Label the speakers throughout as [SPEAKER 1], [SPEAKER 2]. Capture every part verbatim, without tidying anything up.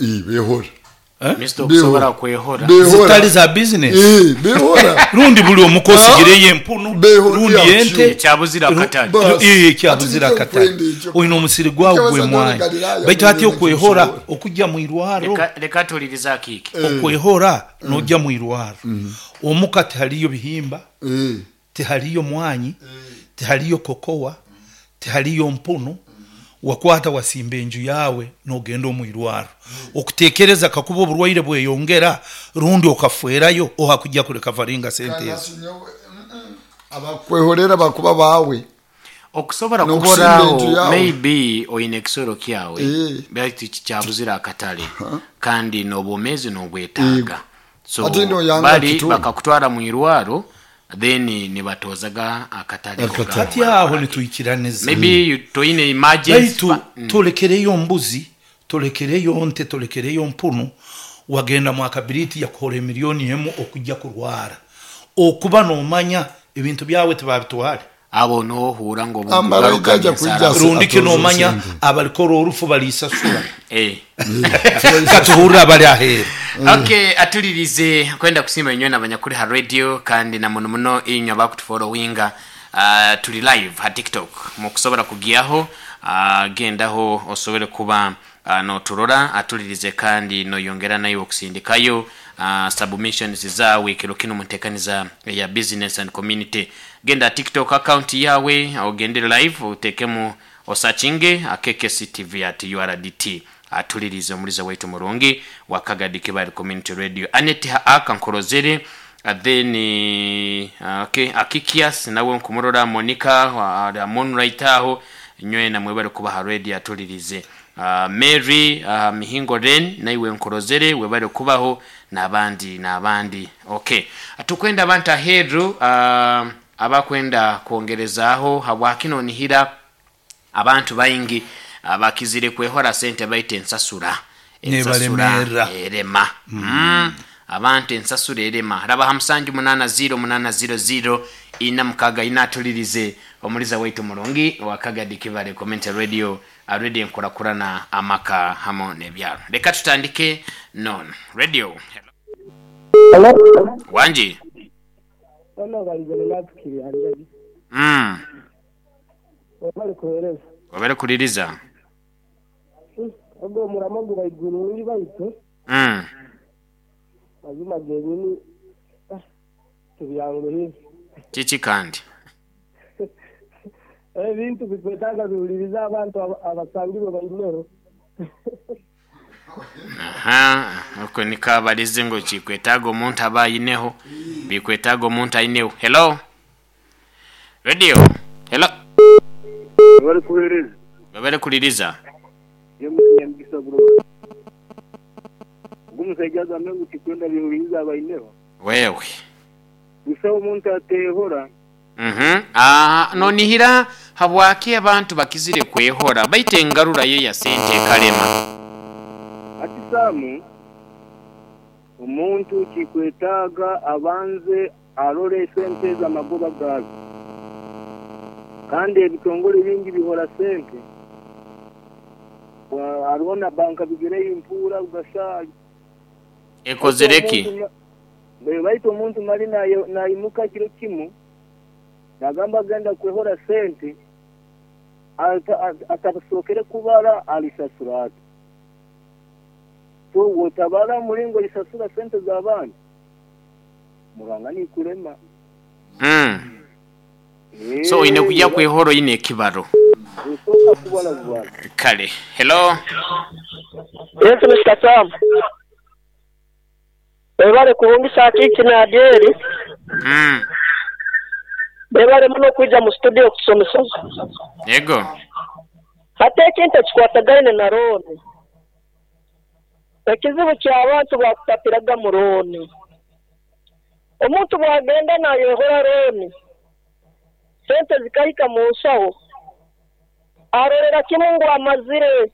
[SPEAKER 1] Eh, behora.
[SPEAKER 2] Eh?
[SPEAKER 3] Mister, okusobola kwehora.
[SPEAKER 1] Behora.
[SPEAKER 2] Zitali za business.
[SPEAKER 1] Eh, behora.
[SPEAKER 2] Rundi buli omukosi empunu,
[SPEAKER 1] Behora
[SPEAKER 2] rundi
[SPEAKER 1] yakyo.
[SPEAKER 2] ente.
[SPEAKER 3] Ekyabuzira akatale.
[SPEAKER 1] Basi.
[SPEAKER 2] Eh, ekyabuzira
[SPEAKER 1] Ati
[SPEAKER 2] akatale.
[SPEAKER 1] kwenda ekyo.
[SPEAKER 2] Oyina omusiri gwawe
[SPEAKER 1] Kyabasa
[SPEAKER 2] gwe mwanyi.
[SPEAKER 1] Galilaya,
[SPEAKER 2] Baitu ati
[SPEAKER 1] mwene
[SPEAKER 2] okwehora
[SPEAKER 1] kisobola.
[SPEAKER 2] okujja mu irwaro.
[SPEAKER 3] Leka- leka tuliriza akiiki.
[SPEAKER 2] Okwehora nojja mu irwaro. Omuka tihaliyo bihimba,
[SPEAKER 1] Eh,
[SPEAKER 2] tihaliyo mwanyi, tihaliyo kokowa, tihaliyo mpunu. Wakwata wasimba enju yawe nogenda omu irwaro. Okutekereza kakuba oburwaire bweyongera rundi okafwerayo oha kujja kuleka varinga sente
[SPEAKER 1] kandi
[SPEAKER 2] ezo.
[SPEAKER 1] ati nyowe, mm, mm. Abakwehorera bakuba bawe.
[SPEAKER 3] Okusobola
[SPEAKER 1] N'okusimba
[SPEAKER 3] kuborawo
[SPEAKER 1] enju yawe.
[SPEAKER 3] Maybe oyina ekisoro kyawe,
[SPEAKER 1] Eh.
[SPEAKER 3] baitu kikyabuzira akatale kandi n'obwomeezi n'obwetaaga, so
[SPEAKER 1] Ate noyanga
[SPEAKER 3] bali
[SPEAKER 1] kitu.
[SPEAKER 3] bakakutwara mu irwaro, then nibatozaga akatale.
[SPEAKER 1] Akatale.
[SPEAKER 2] Kati aho nitwikiraniza.
[SPEAKER 3] Maybe you- toyina emergency
[SPEAKER 2] Baitu
[SPEAKER 3] fa- Mm.
[SPEAKER 2] tolekereyo mbuzi, tolekereyo nte, tolekereyo mpunu, wagenda mu akabiriti yakuhora emiliyoni emu okujja kurwara okuba nomanya ebintu byawe tebabitwale.
[SPEAKER 3] Abo nohuura ngo
[SPEAKER 1] Amara
[SPEAKER 3] bugaruka
[SPEAKER 1] ijja
[SPEAKER 3] ensara.
[SPEAKER 1] kwijja.
[SPEAKER 2] Rundi
[SPEAKER 1] Atoze
[SPEAKER 2] kinomanya
[SPEAKER 1] sente.
[SPEAKER 2] abalikora orufu balisasula.
[SPEAKER 3] Eh.
[SPEAKER 2] Katuhurira abali aheeru.
[SPEAKER 3] Okay, atulirize kwenda kusimba inywe nabanyakuri ha radio kandi na muno muno inywe abakutufollowinga. uh, tuli live ha TikTok, mukusobola kugiyaho, uh, gendaho osobole kuba uh, noturora. Atulirize kandi noyongera nayo okusindikayo uh, submissions zawe kiro kino mutekaniza ya business and community. Genda TikTok account yawe, ogende live, utekemu osachinge akekesi T V at U R D T. Atulirize omuliza waitu murungi wakagadi kibali community radio, Anet aka nkorozere. uh, then uh, okay, Akikias nawe nkumurora, Monica uh, Moonlight aho nywe namwe bari kubaha radio. Atulirize uh, Mary uh, Mihingo Ren, naiwe nkorozere, webale kubaho n'abandi n'abandi. Okay, tukwenda abantu aheru uh, abakwenda kwongerezaaho habwakino nihira abantu baingi abakizire kwehora sente baita ensasura.
[SPEAKER 2] Nebalemera.
[SPEAKER 3] Erema mm. Abantu ensasura erema. Raba ha musanju munana ziro munana ziro ziro ina mukaga ina. Atulirize omuliza waitu mulungi wakagadi kibale community radio, radio enkurakurana amaka hamo nebyalo. Leka tutandike non radio.
[SPEAKER 4] Hello.
[SPEAKER 3] Wanji.
[SPEAKER 4] Bano balizana natukiri anjaji.
[SPEAKER 3] mm.
[SPEAKER 4] Wabali kuhereza.
[SPEAKER 3] Wabere kuliriza.
[SPEAKER 4] Ogwo omuramo gubaiguru uri baitu
[SPEAKER 3] mm.
[SPEAKER 4] mazima genyini, ah, tubyanguhire.
[SPEAKER 3] Kiki kandi?
[SPEAKER 4] Ebintu bikwetaaga biwuliriza abantu aba- abasangirwe baineho.
[SPEAKER 3] Aha, uko nikabalize ngo kikwetaaga omuntu aba ayineho, bikwetaaga omuntu ayineho. Hello, radio, hello.
[SPEAKER 5] Bari kuhereza.
[SPEAKER 3] Babere kuliriza.
[SPEAKER 5] Nyamugisa bro, ogwo omusajja agambe ngu tikwenda bihuriza abaineho.
[SPEAKER 3] Wewe.
[SPEAKER 5] Busaho omuntu atehora.
[SPEAKER 3] Mhm. Ah, nonihira habwaki abantu bakizire kwehora baita engarura ye ya sente ekalema.
[SPEAKER 5] Ati Saamu, omuntu kikwetaaga abanze arore sente z'amagoba gaazo, kandi ebitongole bingi bihora sente. Wa- hariho na banka bigireyo impuura ugasa.
[SPEAKER 3] Ekozere ki?
[SPEAKER 5] Omuntu ma- baitu omuntu mali nayo- nayimuka kiro kimu nagamba agenda kwehora sente, ata- ata- atasookere kubara alisasura ati. So wotabara mulingo lisasura sente z'abandi muranga nikulema.
[SPEAKER 3] Mm. So oyine kujya kwehora oyine ekibaro.
[SPEAKER 5] Osooka kubara bubara.
[SPEAKER 3] Kale, hello.
[SPEAKER 4] Yes, Mister Sam. Webale kuhungisa kiki na Adieri.
[SPEAKER 3] mm.
[SPEAKER 4] Webale muno kwija mu studio okusomesa.
[SPEAKER 3] Yego.
[SPEAKER 4] Hati ekintu ekikwatagaine na loan. Ekizibu ky'abantu bakupapiraga mu loan. Omuntu bwagenda nayehora loan, sente zikahika mu nsaho, arorera kimu ngu amazire,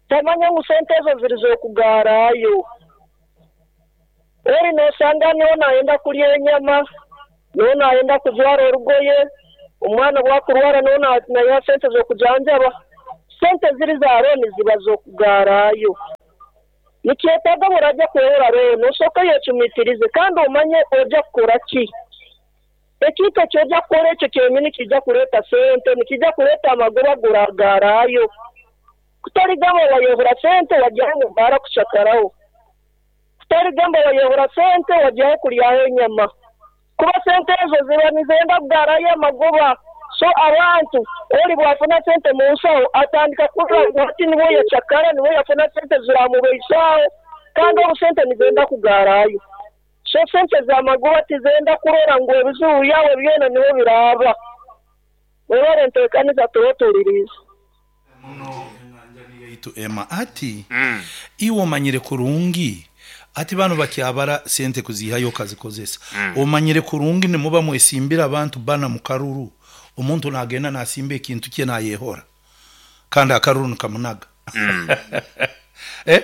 [SPEAKER 4] tamanya ngu sente ezo ziri z'okugaarayo. Eri nosanga niho nayenda kulya enyama, niho nayenda kujwara orugoye, omwana bwakurwara niho na- nayiha sente z'okujanjaba. Sente ziri za loan ziba z'okugaarayo. Nikyetaaga burajya kwehora rero osooke yecumitirize kandi omanye ojja kukora ki. Ekintu eki ojja kukora ekyo kyenyini kijja kureeta sente, nikijja kureeta amagoba guragarayo. Kutarigamba wayehora sente wajyaho mu bara kushakaraho. Kutarigamba wayehora sente wajyaho kuryaho enyama. Kuba sente ezo ziba nizenda kugarayo amagoba. So abantu oli bwafuna sente mu nsaho atandika kurra ngu hati niwe yacakara, niwe yafuna sente ziramubeisaho kandi obu sente nizenda kugarayo. So sente z'amagoba tizenda kurora ngu ebizibu byawe byona niwe biraba. Webale enteekaniza turotuuliriza.
[SPEAKER 2] Yaitu Emma ati
[SPEAKER 3] Mm.
[SPEAKER 2] iwe omanyire kurungi ati bano bakyabara sente kuzihayo kazikozesa
[SPEAKER 3] Mm.
[SPEAKER 2] omanyire kurungi nimuba mwesimbira abantu bana mu karuru omuntu nagenda nasimba ekintu kye nayehora kandi akaruru nikamunaga
[SPEAKER 3] Mm.
[SPEAKER 2] eh?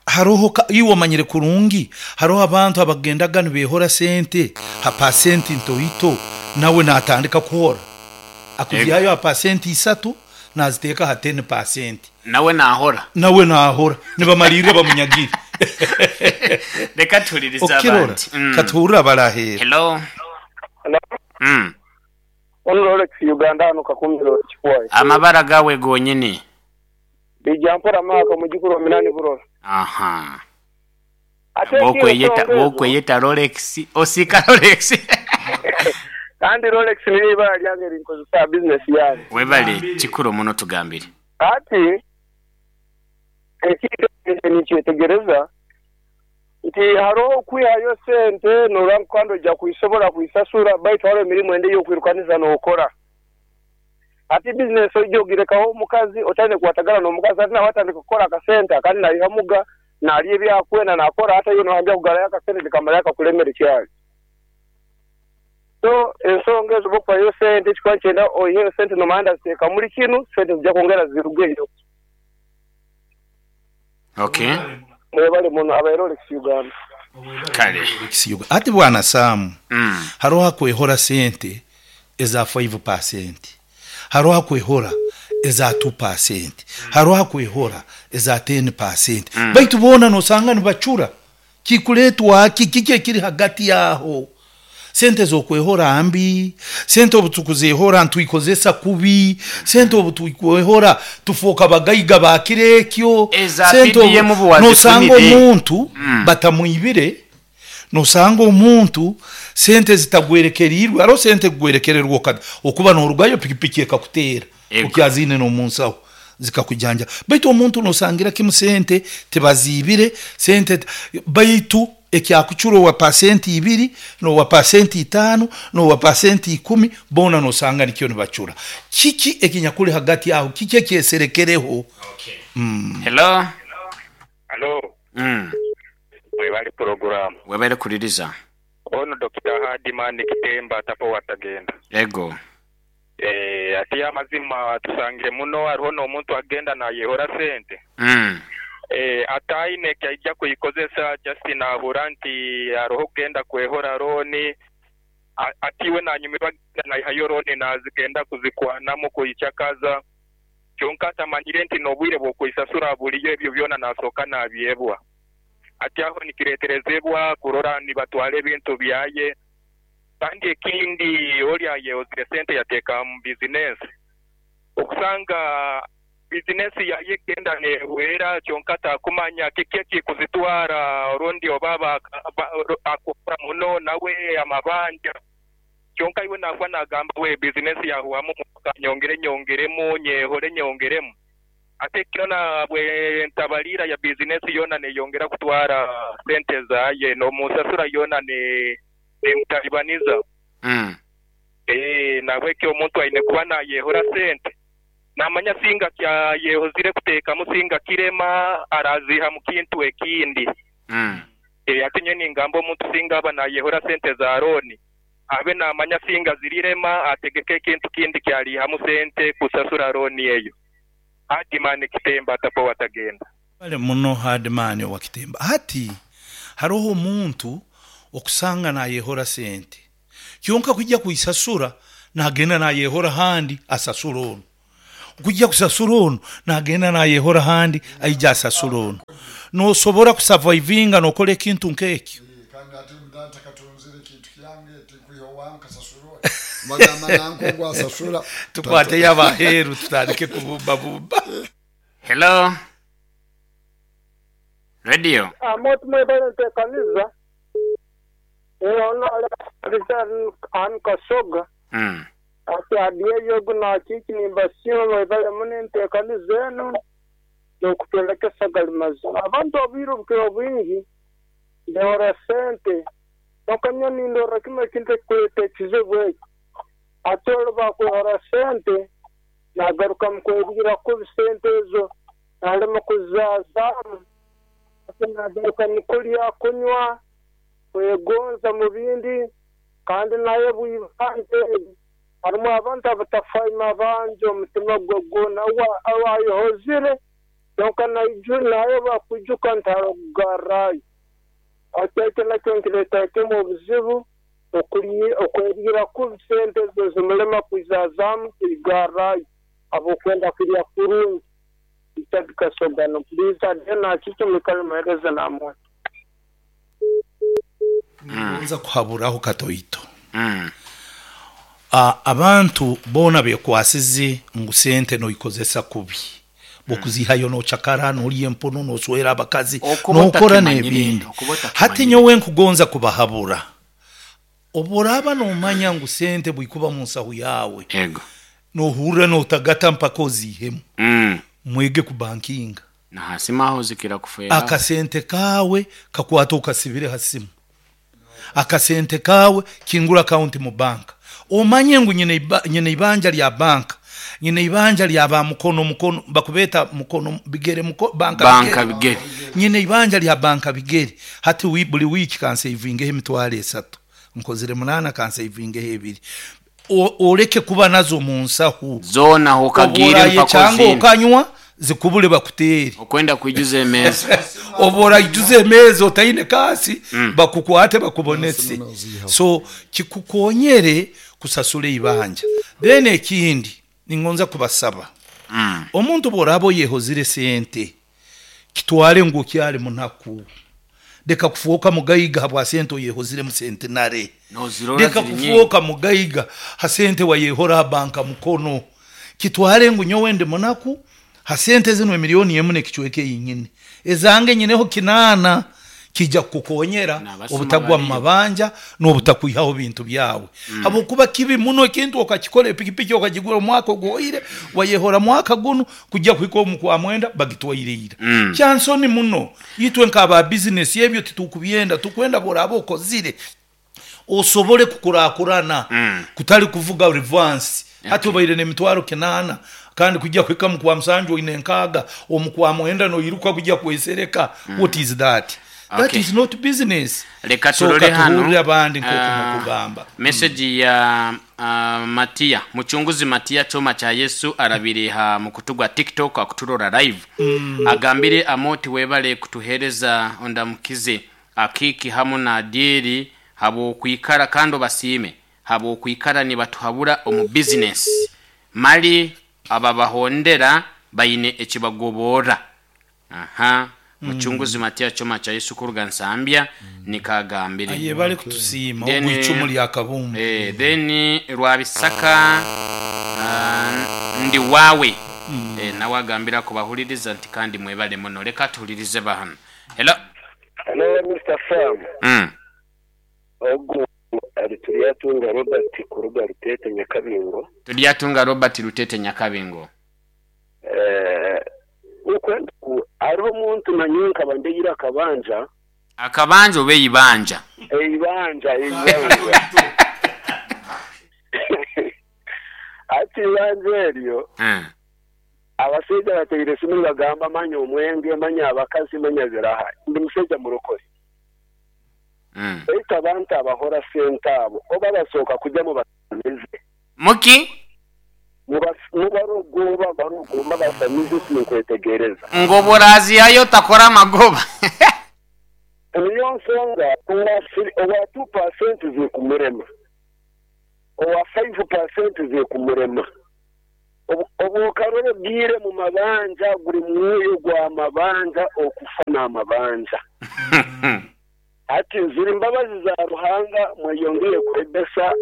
[SPEAKER 2] Haroho ka- iwe omanyire kurungi haroho abantu abagendaga nibehora sente ha pasenti ntoito nawe natandika kuhora akuzihayo ha pasenti isatu naziteeka ha ten pasenti
[SPEAKER 3] Nawe nahora.
[SPEAKER 2] nawe nahora nibamalirire bamunyagire
[SPEAKER 3] Reka tuhulirize
[SPEAKER 2] okirora
[SPEAKER 3] abandi. Mm.
[SPEAKER 2] katuhurira barahera
[SPEAKER 3] Hello. Mm.
[SPEAKER 5] Ono Rolex Uganda hano Kakumiro Kikwayi.
[SPEAKER 3] Amabara gawe gonyini.
[SPEAKER 5] Bijja mpora maaka mujukuru wa minani burora.
[SPEAKER 3] Aha.
[SPEAKER 5] Ate
[SPEAKER 3] Bokweyeta bokweyeta Rolex, osika Rolex.
[SPEAKER 5] Kandi Rolex niyo ibara lyange rinkozesa business yange.
[SPEAKER 3] Webale kikuru muno tugambire.
[SPEAKER 5] Ati ekintu nikyetegereza nti hariho okwihayo sente norora kandi ojja kuisobola kuisasura baitu hariho emirimu ende ey'okwirukaniza n'okora. Ati bizinesi ojja ogirekaho omukazi otandike kukwatagana n'omukazi ati nawe atandika kukora akasente akandi naihamuga nalya ebyakwenda nakora ate yo nohambya kugarayo akasente nikamara akakulemera ekyali. So ensonga ezo bwokufayo sente ekikuba nikyenda oiheyo sente nomanya ndaziteeka muri kinu sente zijja kwongera zirugeyo.
[SPEAKER 3] Okay.
[SPEAKER 5] Mwebale muno abaire Rolex Uganda.
[SPEAKER 3] Kale.
[SPEAKER 2] Ekisiyoga. Ati bwana Sam
[SPEAKER 3] Mm.
[SPEAKER 2] haroho akwehora sente eza five percent haroho akwehora eza two percent haroho akwehora eza ten percent baitu boona nosanga nibacura kikuletwa ki kiki ekiri hagati yaho sente zokwehora mbi sente obu tukuzehora ntwikozesa kubi sente obu tukwehora tufoka bagaiga bakire ekyo
[SPEAKER 3] Eza
[SPEAKER 2] sente obu-
[SPEAKER 3] P D M obu wazifunire.
[SPEAKER 2] nosanga omuntu
[SPEAKER 3] Mm.
[SPEAKER 2] batamwibire nosanga omuntu sente zitagwerekerirwe hariho sente kugwerekererwa okada okuba norugayo pikipiki ekakuteera
[SPEAKER 3] Ego.
[SPEAKER 2] okyazine n'omunsaho zikakujanja baitu omuntu nosangira kimu sente tebazibire sente baitu ekyakucura owa pasenti ibiri nowa pasenti itaano nowa pasenti ikumi bona nosanga nikyo nibacura kiki ekinyakuli hagati aho kiki ekyeserekereho
[SPEAKER 3] Okay. Hello.
[SPEAKER 6] Hello,
[SPEAKER 3] Mm.
[SPEAKER 6] mwebale program.
[SPEAKER 3] Webale kuliriza.
[SPEAKER 6] Ono Doctor Hadiman Kitemba tapo watagenda.
[SPEAKER 3] Ego.
[SPEAKER 6] Eh, ati amazima tusangire muno hariho n'omuntu agenda nayehora sente.
[SPEAKER 3] Mm.
[SPEAKER 6] Eh, ataine kyaija kuyikozesa just nahura nti hariho kugenda kwehora roni atiwe nanyumirwa naihayo roni nazigenda kuzikwanamu kuyichakaza kyonka atamanyire nti n'obwire bw'okwisasura buliyo ebyo byona nasooka nabyebwa. Ati aho nikireterezebwa kurora nibatwara ebintu byaye kandi ekindi oli ayehozire sente yateeka mu bizinesi okusanga bizinesi yaye genda nehwera kyonka takumanya kiki ekikuzitwara orundi oba akukora muno nawe amabanja kyonka iwe nakuba nagamba we bizinesi yahwamu nyongere nyongeremu nyehore nyongeremu ate kino na bwe ntabalira ya bizinesi yona neyongera kutwara sente zaye n'omusasura yona ne nemutalibaniza.
[SPEAKER 3] Mm.
[SPEAKER 6] Eh, nabwekyo omuntu aine kuba nayehora sente namanya singa kya yehozire kuteekamu singa kirema araziha mu kintu ekindi.
[SPEAKER 3] Mm.
[SPEAKER 6] E, ate nye ningamba omuntu singa aba nayehora sente za roni abe namanya singa zirirema ategeke ekintu kindi kyalihamu sente kusasura roni eyo. Hadimani Kitemba tapo watagenda.
[SPEAKER 2] Bale muno Hadimani wa Kitemba ati haroho omuntu okusanga nayehora sente kyonka kujja kuisasura nagenda nayehora handi asasura ono kujja kusasura ono nagenda nayehora handi aija asasura ono Nosobora kusurvivinga nokora ekintu nk'ekyo.
[SPEAKER 1] Kandi ate mudata katunzire ekintu kyange tikwiha owange kasasura bagamba nanko ngu asasura.
[SPEAKER 2] Tukwateyo abaheeru tutandike kubumbabumba.
[SPEAKER 3] Hello radio.
[SPEAKER 4] Amoti mwebale ntekaniza ono an kasoga
[SPEAKER 3] Mm.
[SPEAKER 4] ati adiyeyo gunakiki nimbasiima mwebale muno entekaniza eno n'okutwolekesa gali mazima. Abantu obwire obukira obwingi ndehora sente nokanya nindora kimu ekintu ekikuleeta ekizibu ekyo. Ate olwo bakwehora sente nagaruka mukwebwira kubi sente ezo nalema kuzaazaamu, ate nagaruka mukulya kunywa kwegonza mu bindi, kandi naye bwibanje harimu abantu abatafaima abanje omutima gwe gwona awayehozire kyonka naiju naye bakwijuka nti harakugarrayo. Ate ekyo nakyo nkireeta kimu obuzibu okwebwira kubi sente ezo zimulema kwizazaamu kuigarrayo abokwenda kulya kurungi. Richard Kasogano, please adena kiki mwikale muhereze namwe.
[SPEAKER 2] Nza kuhaburaho katoito.
[SPEAKER 3] Mm.
[SPEAKER 2] Ah, abantu bona bekwasize ngu sente noikozesa kubi bokuzihayo nochakara nolya empono noswera abakazi
[SPEAKER 3] Okuba
[SPEAKER 2] nokora
[SPEAKER 3] otakimanyire,
[SPEAKER 2] n'ebindi.
[SPEAKER 3] okuba otakimanyire.
[SPEAKER 2] Hati nyowe nkugonza kubahabura, oboraba nomanya ngu sente bwikuba mu nsahu yawe
[SPEAKER 3] Ego.
[SPEAKER 2] nohurra notagata mpaka ozihemu.
[SPEAKER 3] Mm.
[SPEAKER 2] Mwege kubankinga
[SPEAKER 3] Na hasima aho zikira kufera.
[SPEAKER 2] Akasente kawe kakwata okasibire hasimu, akasente kawe kingura akaunti mu banka, omanye ngu nyine iba- nyine ibanja lya banka, nyine ibanja lya ba mukono mukono bakubeta mukono bigere muko, banka
[SPEAKER 3] Banka bigere.
[SPEAKER 2] Nyine ibanja lya banka bigere. Hati wi, buli wiki kansevingeho emitwaro esatu nkozire munana kansevingeho ebiri. O- oreke kuba nazo mu nsahu
[SPEAKER 3] Zona hokagire
[SPEAKER 2] Oboraye
[SPEAKER 3] mpaka
[SPEAKER 2] cyangwa
[SPEAKER 3] ozine.
[SPEAKER 2] ukanywa zikubule bakutere
[SPEAKER 3] Okwenda kuijuza emeza.
[SPEAKER 2] obora ijuze emeza otaine kasi bakukwate bakubonese. So kikukonyere kusasula ibanja. Then ekindi ningonza kubasaba,
[SPEAKER 3] Mm.
[SPEAKER 2] omuntu bworaba oyehozire sente kitware ngu kyali munaku, leka kufuuka mugaiga habwa sente oyehoziremu sente nare.
[SPEAKER 3] Nozirora
[SPEAKER 2] Leka
[SPEAKER 3] ziri nyingi.
[SPEAKER 2] kufuuka mugaiga ha sente wayehora banka mukono, kitware ngu nyowe ndi munaku ha sente zino emiliyoni emu nekichweke yinyine ezange nyineho kinana, kijja kukukonyera
[SPEAKER 3] N'abasuma
[SPEAKER 2] obutagwa mu
[SPEAKER 3] bariyo.
[SPEAKER 2] mabanja n'obutakwihaho bintu byawe. Habwokuba kibi muno ekintu okakikora epikipiki okagigura omwaka oguhoire wayehora mwaka guno kujja kuhika omu kwa mwenda bagitwaireira.
[SPEAKER 3] Mm.
[SPEAKER 2] Kyansoni muno itwe nk'aba bizinesi ebyo titukubyenda, tukwenda boraba okozire osobole kukurakurana.
[SPEAKER 3] Mm.
[SPEAKER 2] Kutali kuvuga reverse. Hati obaire n'emitwaro kinana kandi kujja kuhika mu kwa musanju oine nkaaga omu kwa mwenda noiruka kujja kwesereka. What is that? That
[SPEAKER 3] Okay.
[SPEAKER 2] is not business.
[SPEAKER 3] Reka
[SPEAKER 2] So
[SPEAKER 3] turore hano
[SPEAKER 2] katuhurire abandi nk'oku
[SPEAKER 3] Ah,
[SPEAKER 2] mukugamba.
[SPEAKER 3] Message ya uh, Matia muchunguzi Matia choma cha Yesu arabireha mu kutu gwa TikTok akuturora live. Mm. Agambire amoti webale kutuhereza ondamukize akiki hamu na dieri habo kuikara kando basime habo kuikara ni batuhabura omu business mali ababahondera bayine ekibagobora. Aha muchunguzi Matia choma cha Yesu kuruga Nsambya nikagambire.
[SPEAKER 2] Aye bali kutusiima
[SPEAKER 3] Then,
[SPEAKER 2] ogw'icumu lya kabumbu.
[SPEAKER 3] Eh, then Rwabisaka uh, ndi wawe. Mm. Eh, nawe agambira kubahuliriza nti kandi mwebale muno. Leka tuhulirize bahano. Hello.
[SPEAKER 5] Hello Mister Sam.
[SPEAKER 3] Mm.
[SPEAKER 5] Ogu ali Turyatunga Robert kuruga Rutete Nyakabingo.
[SPEAKER 3] Turyatunga Robert Rutete Nyakabingo.
[SPEAKER 5] Eh, ukwenda ku ariho omuntu nanyonka bandegira akabanja.
[SPEAKER 3] Akabanja oba eibanja?
[SPEAKER 5] Eibanja, eibanja. Ati ibanja eryo
[SPEAKER 3] Mm.
[SPEAKER 5] abasajja bateire simu bagamba manya omwenge manya abakazi manya ziraha ndi musajja murokore.
[SPEAKER 3] Mm.
[SPEAKER 5] Baitu abantu abahora sente abo oba basooka kujja mu basamize.
[SPEAKER 3] Muki?
[SPEAKER 5] Mu barogoba barogomba basamize sinkwetegereza.
[SPEAKER 3] Ngoboraziyayo takora amagoba.
[SPEAKER 5] Niyo nsonga owa two percent zikumurema owa five percent zikumurema. Obukaroro bwire mu mabanja guri mwoyo gwa mabanja okufa n'amabanja. Ati nzuri imbabazi za Ruhanga mweyongere kwebesa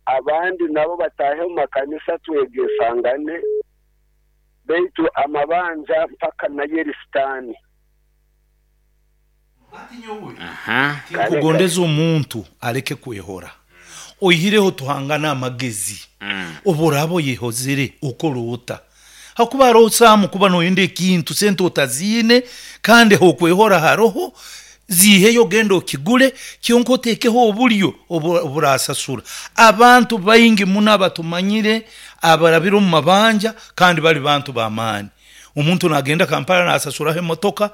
[SPEAKER 5] abandi nabo batahe mu makanisa twegesangane beitu amabanja mpaka na Yeristani.
[SPEAKER 2] Kugondeza omuntu aleke kwehora oyihireho tuhangana amagezi mm. Oborabo yehozere ukorota hakuba rosamu kuba noyende ekintu sente otazine kandi hokwehora haroho ziheyo gendo kigule kyonko tekeho obulyo oburasasura. Abantu baingi muna batumanyire abarabiro mu mabanja kandi bali bantu bamani. Omuntu nagenda Kampala nasasura emotoka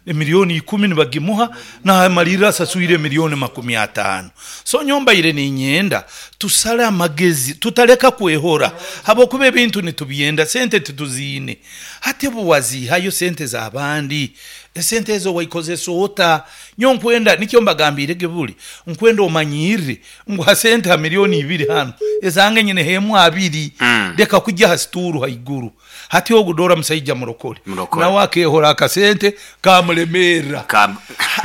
[SPEAKER 2] milioni ikumi nibagimuha na malira asasuire milioni makumi atano. So nyomba ile ni nyenda tusale amagezi tutaleka kwehora habo kube bintu nitubyenda sente tutuzine hati buwazi hayo sente za abandi sente ezo waikozesa ota nyonkwenda nikyo mbagambire gebuli nkwenda omanyire ngwa sente ha milioni ibiri hano ezange nyine hemu abiri mm. Leka kujja hasituru haiguru hati ogudora musajja murokole nawe akehora akasente kamulemera Kam.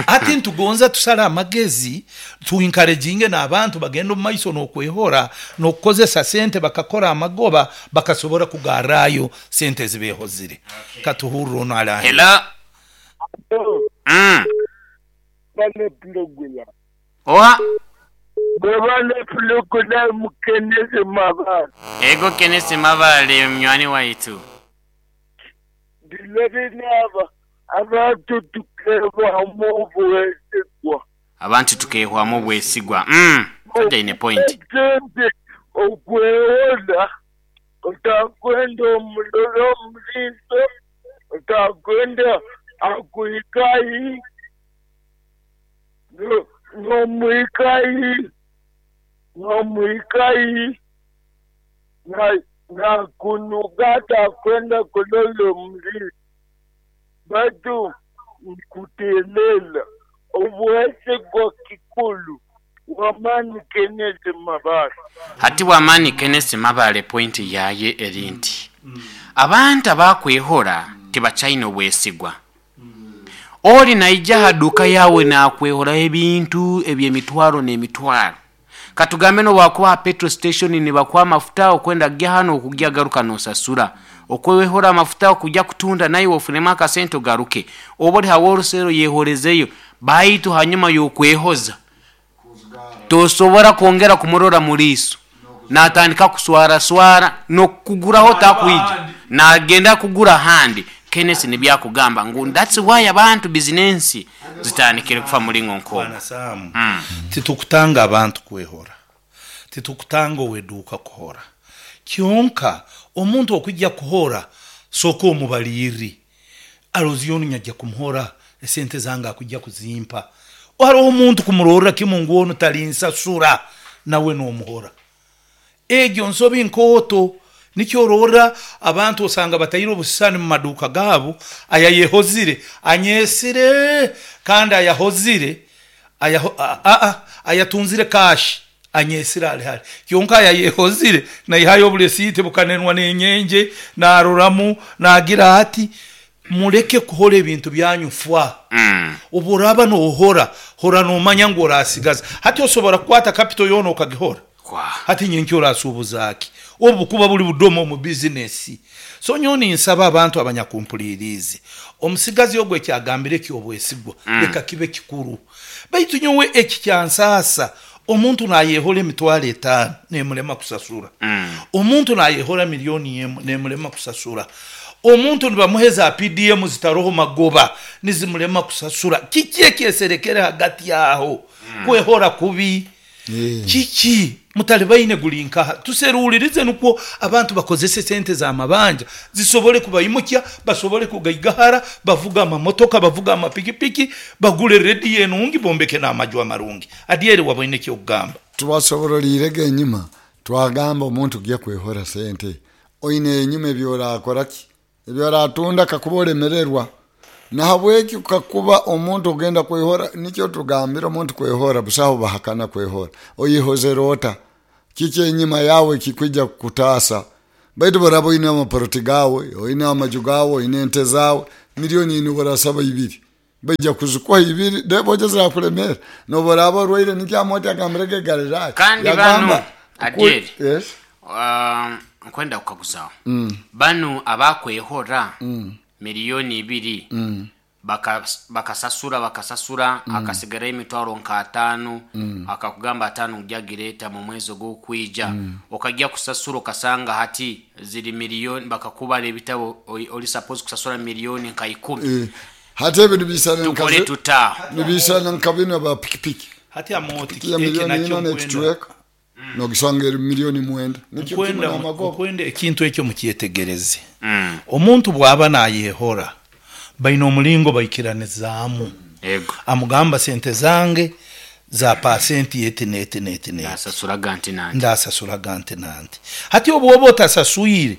[SPEAKER 2] Ati ntugonza tusala amagezi tuencouraging n'abantu bagenda mu maiso n'okwehora n'okukozesa sente bakakora amagoba bakasobora kugarayo sente zibehozire. Okay. Katuhurro ono ala
[SPEAKER 3] hello. Mm.
[SPEAKER 5] Bane plugula.
[SPEAKER 3] Oha.
[SPEAKER 5] Bane plugula mukeneze mabale.
[SPEAKER 3] Ego kenese mabale mnywani waitu.
[SPEAKER 5] Dilebe naba abantu tukehwamu obwesigwa.
[SPEAKER 3] Abantu tukehwamu obwesigwa. Mm. That ine point.
[SPEAKER 5] Okwehola utakwenda omulolo omuliso utakwenda akuikai no no muikai no muikai na na kunugata kwenda kulolo mli bado kutelela obwesigwa kikulu wamani Kenneth Mabale.
[SPEAKER 3] Hati wamani Kenneth Mabale point yaye erinti mm. Abantu abakwehora tibachaina obwesigwa. Oli naija haduka yawe na kwehora ebintu ebyemitwaro n'emitwaro. Katugambe no wakuwa petrol station ni bakwa mafuta okwenda gya hano okujya garuka nosasura. Okwehora mafuta okujya kutunda nayo ofunema akasento garuke. Oboli haworusero yehorezeyo baitu hanyuma yokwehoza. Tosobora kuongera kumurora muliso. Natandika kuswara swara no kuguraho takuija. Na agenda kugura handi. Kenneth ni byakugamba ngu that's why abantu business zitandikire kufa muri nkonko.
[SPEAKER 2] Mm. Titukutanga abantu kwehora. Titukutanga weduka kuhora. Kyonka omuntu okujja kuhora soko omubaliri. Aloziyoni nyajja kumuhora esente zanga akujja kuzimpa. Hariho omuntu kumurora kimungu ono talinsasura nawe nomuhora. Egyo nsobi nkoto nikyo rora abantu osanga batayiro obusani mu maduka gabo aya yehozire anyesire kandi ayahozire aya a a ayatunzire cash anyesire ali hali kyonka aya yehozire na ihayo bulesite bukanenwa n'enyenje naroramu nagira ati mureke kuhora ebintu byanyu fwa
[SPEAKER 3] mm.
[SPEAKER 2] Oburaba no hora hora no manya ngo orasigaza hati osobora kukwata capital yono okagihora hati nyenki orasubuzaki obu kuba buli budomo mu business. So nyoni nsaba abantu abanyakumpulirize omusigazi ogwe kyagambire ki obwesigwa mm. Leka kibe kikuru baitu nyowe eki kyansasa omuntu nayehora emitwaro etano nemulema kusasura
[SPEAKER 3] mm.
[SPEAKER 2] Omuntu nayehora milioni nemulema kusasura. Omuntu nibamuheza P D M zitaroho magoba nizimulema kusasura. Kiki ekyeserekere hagati yaho mm. Kwehora kubi yeah. Kiki mutalibaine gulinka tuserulirize nuko abantu bakozese sente za mabanja zisobole kubayimukya basobole kugaigahara bavuga amamotoka bavuga amapikipiki bagule redi enungi bombeke n'amajwa marungi. Adiere wabone kyo kugamba
[SPEAKER 1] tubasoborolirege enyuma twagamba omuntu gye kwehora sente oine enyuma ebyorakora ki ebyoratunda kakubolemererwa nahabweki kakuba omuntu ogenda kwehora nikyo tugambira omuntu kwehora busaho bahakana kwehora oyihozerota kiki enyuma yawe kikwijja kutasa Baitu boraba oine amaporoti gawe, oine amaju gawe, oine ente zawe, milioni ina borasaba ibiri, baija kuzikuha ibiri deboja zirakulemera. Noboraba orwaire, nikyo Amoti agambirege Galilaya.
[SPEAKER 3] Kandi
[SPEAKER 1] Yagamba,
[SPEAKER 3] bano, Adieri.
[SPEAKER 1] Yes.
[SPEAKER 3] Um, nkwenda kukaguzaho banu abakwehora miliyoni ibiri, baka- bakasasura bakasasura akasigarayo emitwaro nka ataano, akakugamba ataano ujagireta mu mwezi ogwokwija, okajya kusasura okasanga hati ziri miliyoni, bakakubara ebitabo, oli oli suppose kusasura miliyoni nka ikumi.
[SPEAKER 1] Eh, hati ebintu bisana
[SPEAKER 3] Tukole
[SPEAKER 1] nka
[SPEAKER 3] tuta?
[SPEAKER 1] Nibisana nka bino ba pikipiki.
[SPEAKER 2] Hati Amoti,
[SPEAKER 1] Ya
[SPEAKER 2] eki
[SPEAKER 1] milioni
[SPEAKER 2] nakyo
[SPEAKER 1] ina
[SPEAKER 2] nkwenda
[SPEAKER 1] n'ekicweka nogisanga eri milioni mwenda, nikyo kimwe
[SPEAKER 2] nkwenda
[SPEAKER 1] n'amagoba.
[SPEAKER 2] Nkwenda ekintu ekyo mukyetegereze. Omuntu bw'aba nayehora, baina omulingo baikiranizaamu.
[SPEAKER 3] Ego.
[SPEAKER 2] Amugamba, sente zange za pasenti eti neti neti neti.
[SPEAKER 3] Asasuraga nti nanti.
[SPEAKER 2] Ndasasuraga nti nanti. Hati obu oba otasaswire,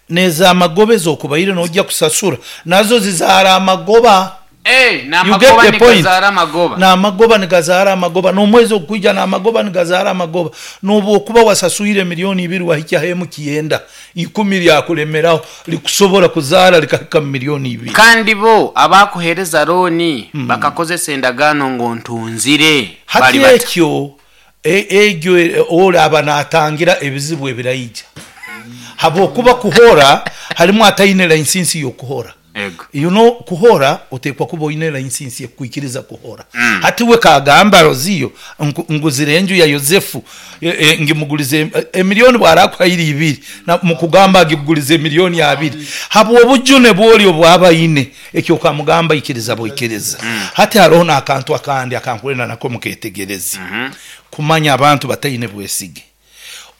[SPEAKER 2] neza amagoba ezokubaire nojja kusasura nazo zizaara amagoba.
[SPEAKER 3] Eh,
[SPEAKER 2] You get
[SPEAKER 3] n'amagoba
[SPEAKER 2] the point?
[SPEAKER 3] nigazaara amagoba.
[SPEAKER 2] N'amagoba nigazaara amagoba, n'omwezi ogukwija n'amagoba nigazaara amagoba. N'obu okuba wasaswire miliyoni ibiri, wahikyaho emu kiyenda, ikumi lyakulemeraho likusobora kuzaara likahika mu miliyoni ibiri.
[SPEAKER 3] Kandi bo abakuhereza looni bakakozesa endagaano ngo ntunzire
[SPEAKER 2] Hati
[SPEAKER 3] bali bata.
[SPEAKER 2] Ekyo e- egyo e- olaba natangira ebizibu ebiraija, habwokuba kuhora harimu ataine license y'okuhora.
[SPEAKER 3] Ego.
[SPEAKER 2] You know, kuhora otekwa kuba oine license ekukwikiriza kuhora. mm. Hati we kagamba roziyo ngu- nguzire enju ya Yosefu, e, e, ngimugulize e, emiliyoni, bwarakuhaire ibiri na mukugamba agigulize emiliyoni abiri habwo obujune bwoli obwabaine, ekyo kamugamba ikiriza bwikiriza. mm. Hati hariho n'akantu akandi akankwenda nako muketegereze, mm -hmm. kumanya abantu bataine bwesige.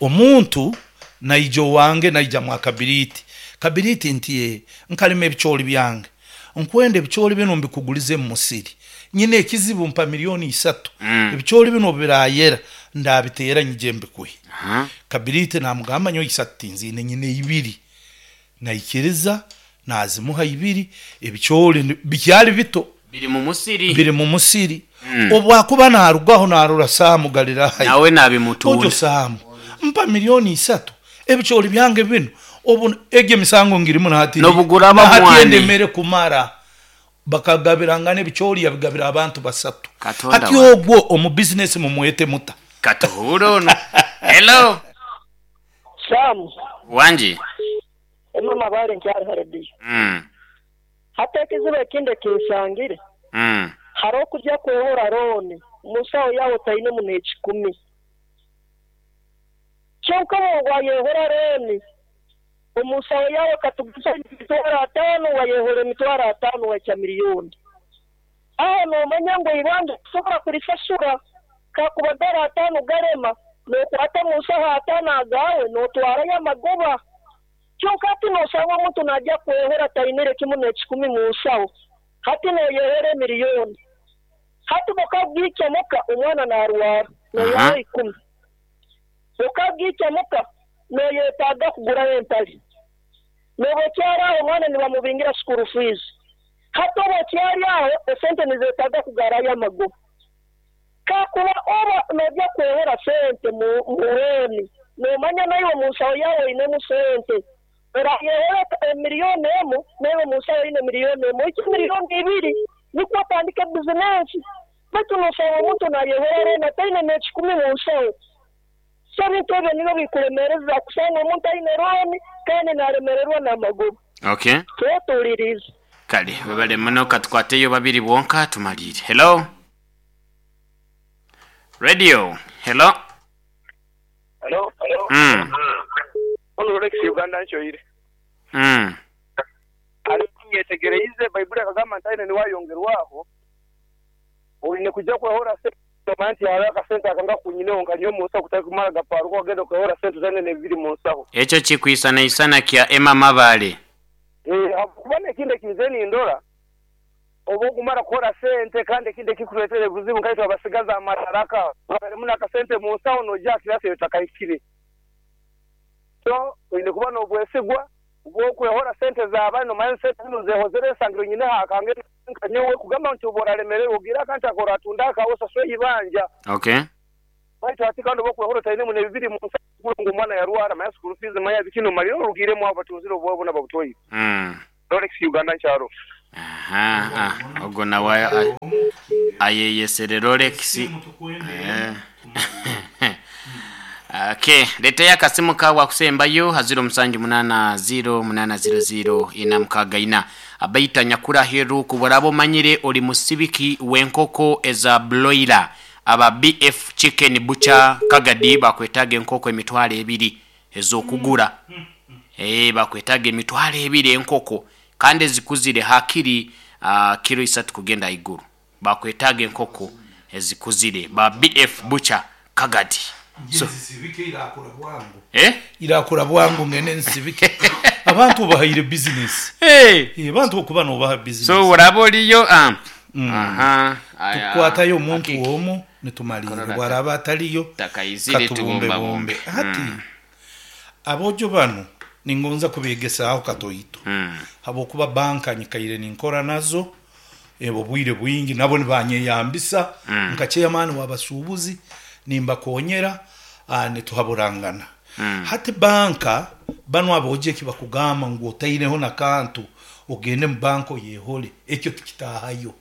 [SPEAKER 2] Omuntu naija owange, naija mwa kabiriti, kabiriti nti, "Eh, nkalima ebicooli byange, nkwenda ebicooli bino mbikugulize mu musiri, nyine ekizibu, mpa miliyoni isatu, mm. ebicooli bino birayera ndabiteera nyije mbikuhe."
[SPEAKER 3] Aha.
[SPEAKER 2] Kabiriti namugamba, nyo isatu tinziine, nyine ibiri. Naikiriza, nazimuha ibiri, ebicooli ni- bikyali bito.
[SPEAKER 3] Biri mu musiri.
[SPEAKER 2] Biri mu musiri. mm. Obwakuba narugaho narura Saamu Galirayo.
[SPEAKER 3] Nawe
[SPEAKER 2] Ojo
[SPEAKER 3] nabimutunda.
[SPEAKER 2] Saamu, mpa miliyoni isatu, ebicooli byange bino obu egyo emisango ngirimu nahati.
[SPEAKER 3] Nobugura
[SPEAKER 2] Nahati
[SPEAKER 3] abamwani.
[SPEAKER 2] endemere kumara bakagabirangana ebicooli, yabigabira abantu basatu.
[SPEAKER 3] Katonda
[SPEAKER 2] Hati
[SPEAKER 3] wange.
[SPEAKER 2] ogwo omu bizinesi mumwete muta?
[SPEAKER 3] Katuhure ono. Hello.
[SPEAKER 4] Samu.
[SPEAKER 3] Wangi.
[SPEAKER 4] Emama bale nkyali harediyo.
[SPEAKER 3] Mm.
[SPEAKER 4] Hati ekizibu ekindi ekinsangire,
[SPEAKER 3] Mm.
[SPEAKER 4] hariho okujya kwehora looni, musawo yawe tainemu n'ekikumi, kyonka wayehora looni omusawo yawe katuguza emitwaro ataano, wayehora emitwaro ataano, waikya miliyoni aho, nomanya ngu ibanja kusobora kurisasura kakuba dara ataano garema, nokwata munsaho ataano agawe notwarayo amagoba. Kyonka hati nosanga omuntu najya kwehora tainire kimu n'ekikumi munsawo, hati noyehera emiliyoni, hati bukabwikyamuka omwana narwara, noyaho
[SPEAKER 3] Aha.
[SPEAKER 4] ikumi, bukabwikyamuka noyetaaga kugurayo empali, nobokyari aho omwana nibamubingira school fees, hati obokyari aho esente nizetaaga kugarayo amagoba. Kakuba oba nojya kwehera sente mu mu looni, nomanya naiwe munsawo yawe oinemu sente, orayehera emiliyoni emu, naiwe munsawo oine miliyoni emu, iki miliyoni ibiri, nikwo otandike bizinesi. Baitu nosanga omuntu nayehera looni ataine n'ekikumi munsawo. So ebintu ebyo nibyo bikulemereza, kusanga omuntu aine looni kandi naremererwa n'amagoba.
[SPEAKER 3] Okay.
[SPEAKER 4] Twetuulirize.
[SPEAKER 3] Kale webale muno, katukwateyo babiri bwonka tumalire. Hello, radio, hello.
[SPEAKER 6] Hello.
[SPEAKER 3] Mm.
[SPEAKER 6] Ono Rolex Uganda nkyoyire.
[SPEAKER 3] Mm.
[SPEAKER 6] Ali nyetegereize Baibuli akagamba nti aine niwayongerwaho. Oine kujja kwehora sente nti hariho akasente akanga kunyineho nka nyowe mu nsaho, kutari kumara gaparuka ogenda kwehora sente zane nebiri mu nsaho.
[SPEAKER 3] Ekyo kikwisanaisana kya Emma Mabale.
[SPEAKER 6] Eh, kuba nekindi ekinze nindora oba okumara kuhora sente, kandi ekindi ekikureetera ebuzibu nkaitwe abasigaza amadaraka barimu n'akasente mu nsaho, nojja kirasi etakahikire. So oine kuba n'obwesigwa bw'okwehora sente zaabandi, nomanya sente zino zehozere esangiro nyine hakange nyowe kugamba nti oba oraremererwa ogira akantu ako oratunda akawe osasure ibanja.
[SPEAKER 3] Okay.
[SPEAKER 7] Baitu ati kandi oba otainemu n'ebibiri mu nsa ngu omwana yarwara maya school fees maya bikino maliro orugiremu abo batunzire obwawe bona babutwaire.
[SPEAKER 3] Mm.
[SPEAKER 7] Rolex Uganda nkyaro.
[SPEAKER 3] Aha, ah, ogwo nawe a- ayeyesere Rolex. Eh. Okay, leteyo akasimu kawe akusembayo ha ziro musanju munana ziro munana ziro ziro ina mukaaga ina. Abaita nyakura heru kuburaba omanyire oli musibiki w'enkoko eza broiler aba B F Chicken Butcher Kagadi bakwetaga enkoko emitwalo ebiri ez'okugura. Eh, bakwetaga emitwalo ebiri enkoko kandi ezikuzire hakiri uh, kiro isatu kugenda iguru. Bakwetaga enkoko ezikuzire ba B F Butcher Kagadi. So,
[SPEAKER 2] nsibike irakura bwangu
[SPEAKER 3] eh?
[SPEAKER 2] irakura bwangu ngene nsibike abantu bahaire business.
[SPEAKER 3] Hey.
[SPEAKER 2] Eh, abantu okuba nobaha business.
[SPEAKER 3] So uraba oliyo ah. Aha. Aya.
[SPEAKER 2] Tukwatayo omuntu
[SPEAKER 3] Akiki.
[SPEAKER 2] omu nitumalire
[SPEAKER 3] Korora
[SPEAKER 2] bwaraba ataliyo
[SPEAKER 3] Takaizire
[SPEAKER 2] katubumbebumbe.
[SPEAKER 3] tubumbabumbe.
[SPEAKER 2] Hati abojo bano ningonza kubegesaho katoito
[SPEAKER 3] Mm.
[SPEAKER 2] habwokuba banka nyikaire ninkora nazo ebo bwire bwingi nabo nibanyeyambisa mm. nka chairman w'abasuubuzi nimbakonyera ah, nituhaburangana mm. Hati banka bano aboje kibakugamba ngu otaineho nakantu ogende mu banko yehole ekyo tikitahayo.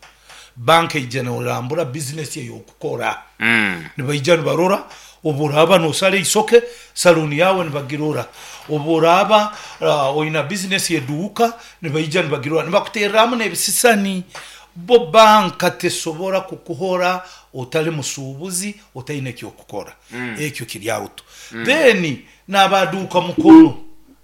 [SPEAKER 2] Banka ija norambura business eyokukora
[SPEAKER 3] Mm.
[SPEAKER 2] nibaija nibarora oburaba nosala isoke saluni yawe nibagirora oburaba uh, oina business yeduuka nibaija nibagirora nibakutereramu n'ebisisani. Bo banka tesobora kukuhora otali musuubuzi otaine ekyokukora mm. Ekyo kiri auto mm. Then n'abaduuka mukono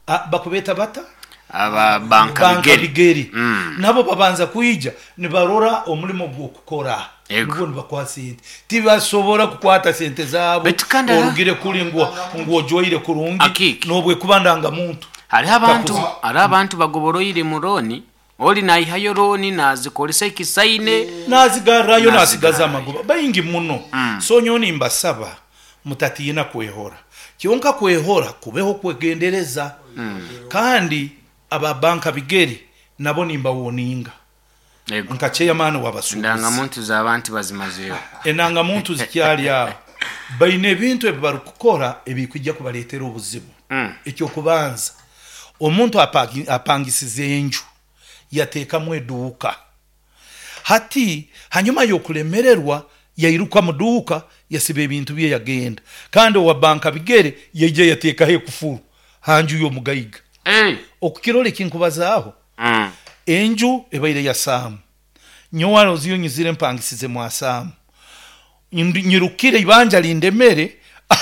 [SPEAKER 2] ah, bakubeta bata
[SPEAKER 3] Aba banka
[SPEAKER 2] banka
[SPEAKER 3] bigeri.
[SPEAKER 2] bigeri
[SPEAKER 3] Mm.
[SPEAKER 2] nabo babanza kuija nibarora omulimo gw'okukora
[SPEAKER 3] Yego.
[SPEAKER 2] nibwo nibakuha sente tibasobora kukwata sente zaabo
[SPEAKER 3] Baitu kandi ara-
[SPEAKER 2] orugire kuri ngu ngu ojwaire kurungi
[SPEAKER 3] Akiki.
[SPEAKER 2] nobwe kuba ndangamuntu
[SPEAKER 3] Hariho abantu
[SPEAKER 2] Takuza.
[SPEAKER 3] hariho abantu bagoboroire mu roni oli naihayo roni nazikoresa ekisaine
[SPEAKER 2] nazigarrayo
[SPEAKER 3] Nazigarrayo.
[SPEAKER 2] nasigaza amagoba baingi muno mm. So nyowe nimbasaba mutatiina kwehora kyonka kwehora kubeho kwegendereza mm. Kandi aba banka bigeri nabo nimbawoninga
[SPEAKER 3] Yego.
[SPEAKER 2] nka chairman w'abasuubuzi
[SPEAKER 3] Ndangamuntu z'abantu bazimazeyo.
[SPEAKER 2] enangamuntu zikyali aho baine ebintu ebi barikukora ebikujja kubaleetera obuzibu
[SPEAKER 3] Mm.
[SPEAKER 2] Ekyokubanza omuntu apagi- apangisiza enju yateekamu eduuka hati hanyuma y'okulemererwa yairuka mu duuka yasiba ebintu bye yagenda kandi owa banka bigere yaija yateekaho ekufuru hanju y'omugaiga.
[SPEAKER 3] Hey.
[SPEAKER 2] Okukirora ekinkubazaaho
[SPEAKER 3] Mm.
[SPEAKER 2] enju ebaire ya saamu nyowe aroziyo nyizire mpangisize mwa saamu Ndu- nyirukire ibanja lindemere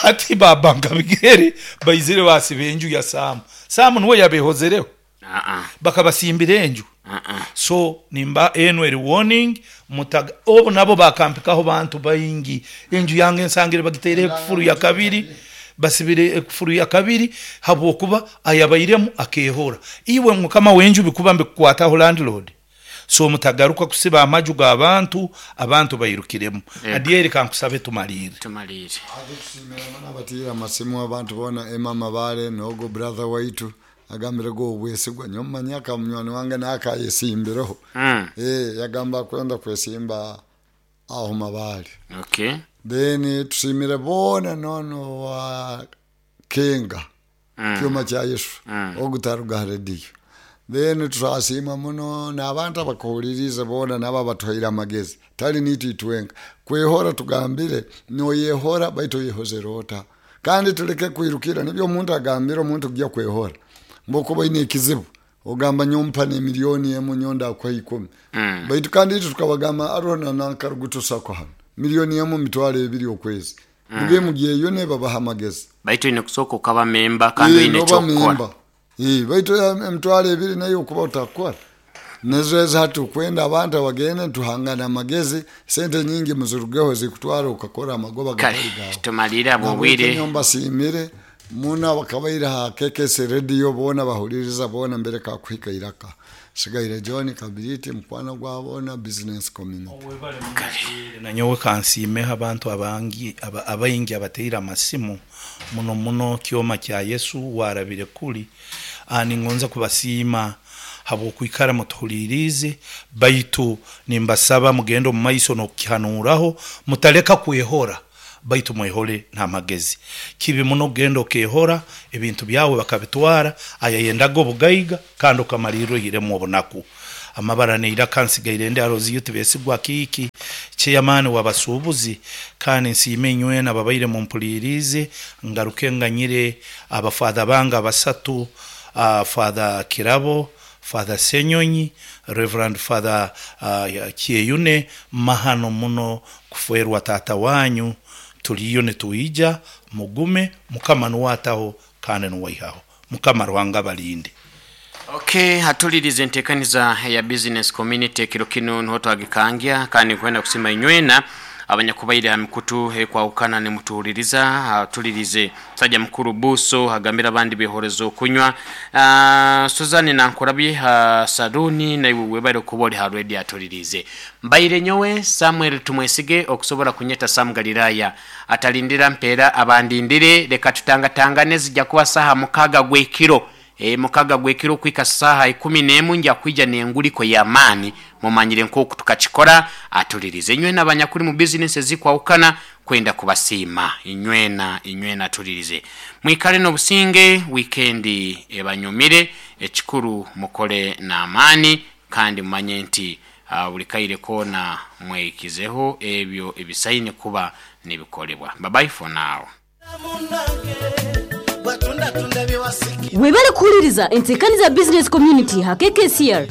[SPEAKER 2] ati babanka bigere baizire basiba enju ya saamu saamu niwe yabehozereho
[SPEAKER 3] Ah ah.
[SPEAKER 2] bakabasimbira enju.
[SPEAKER 3] Ah ah.
[SPEAKER 2] So nimba eno eri warning mutaga obu nabo bakampikaho bantu baingi enju yange nsangire bagiteire ekufuru ya kabiri basibire ekufuru ya kabiri habwokuba ayabairemu akehora iwe mukama w'enju bikuba mbikukwataho landlord. So mutagaruka kusiba amaju g'abantu abantu bairukiremu.
[SPEAKER 3] Yego.
[SPEAKER 2] Adieri kankusabe tumalire
[SPEAKER 3] Tumalire.
[SPEAKER 1] Abatira amasimu abantu bona Emma Mabare nogo brother waitu agambire go obwesigwa nyomanya ka munywani wange nakayesimbireho
[SPEAKER 3] Mm.
[SPEAKER 1] eh yagamba kwenda kwesimba aho Mabare.
[SPEAKER 3] Okay.
[SPEAKER 1] Then tusimire bona nono wa Kenga
[SPEAKER 3] Mm.
[SPEAKER 1] kyuma kya Yesu
[SPEAKER 3] Mm.
[SPEAKER 1] ogutaruga rediyo. Then turasima muno n'abantu abakuhulirize bona nabo abatuhaire amagezi tali nitu itwenka kwehora tugambire noyehora baitu oyehozere ota kandi tuleke kwirukira nibyo omuntu agambire omuntu kujya kwehora mbokuba oine ekizibu ogamba nyompa nemiliyoni emu nyonda akuha ikumi
[SPEAKER 3] Mm.
[SPEAKER 1] baitu kandi itwe tukabagamba arona nankarugutusako hano miliyoni emu mitwalo ebiri okwezi muge mugyeyo nebabaha amagezi
[SPEAKER 3] Baitu ine kusooka okaba memba kandi
[SPEAKER 1] Eh,
[SPEAKER 3] oine
[SPEAKER 1] noba
[SPEAKER 3] ekyokukora.
[SPEAKER 1] memba. Eh, baitu em- emitwalo ebiri nayo okuba otakukora nezo ezi tukwenda abantu abagende tuhangana amagezi sente nyingi muzirugeho zikutwara ukakora amagoba
[SPEAKER 3] Kale
[SPEAKER 1] gatari gawe
[SPEAKER 3] tumalire abo obwire.
[SPEAKER 1] mbasiimire muno abakabaire ha K K S radio bona bahuliriza bona mbere kakuhika iraka sigaire John Kabiriti mukwano gwa bona business community.
[SPEAKER 2] Nanyowe kansiimeho abantu abangi aba- abaingi abateire amasimu muno muno kyoma kya Yesu warabire kuli Ah, ningonza kubasiima habwokwikara mutuhulirize baitu nimbasaba mugende omu maiso n'okukihanuraho mutaleka kwehora Baitu mwehole n'amagezi. Kibi muno kugenda okehora ebintu byawe bakabitwara, ayayendaga obugaiga, kandi okamalirra ohiremu obunaku. Amabara neiraka nsigaire ndi aroziyo tibesigwa kiiki chairman w'abasuubuzi. Kandi nsiime inywena ababaire mumpuliriize. Ngaruke nganyire abafather bange abasatu, uh, Father Kirabo, Father Senyonyi, Reverend Father uh, Kyeyune. Mahano muno kuferwa tata wanyu. Tuliyo nituija, mugume. Mukama nuwataho kandi nuwaihaho. Mukama Ruhanga balinde.
[SPEAKER 3] Okay, hatulirize entekaniza ya business community kiro kino niho twagikangya. Kandi kwenda kusima inywena abanyakubaire ha mikutu ekwahukana nimutuhuliriza. Hatulirize sajja mukuru Buso agambira abandi behorezo okunywa. uh, Suzani nankurabye ha saruni, naiwe webale okuba oli ha radio. Atulirize mbaire nyowe Samuel Tumwesige, okusobola kunyeta Sam Galilaya atalindira mpeera abandindire. Leka tutangatangane, zijja kuba saha mukaga gwekiro, e, mukaga gwekiro kwika saha ikumi n'emu nja kwija nenguliko y'amaani. Mumanyire nk'oku tukakikora. Atulirize inywena abanyakuli mu bizinesi ezikwawukana, kwenda kubasiima inywena inywena. Atulirize, mwikale n'obusinge, wiikendi ebanyumire. Ekikuru mukole n'amaani, kandi mumanye nti uh, buli kaire koona mwekizeho ebyo ebisaine kuba nibikolebwa. Bye bye for now.
[SPEAKER 8] Webale kuhuliriza entekaniza business community ha K K C R.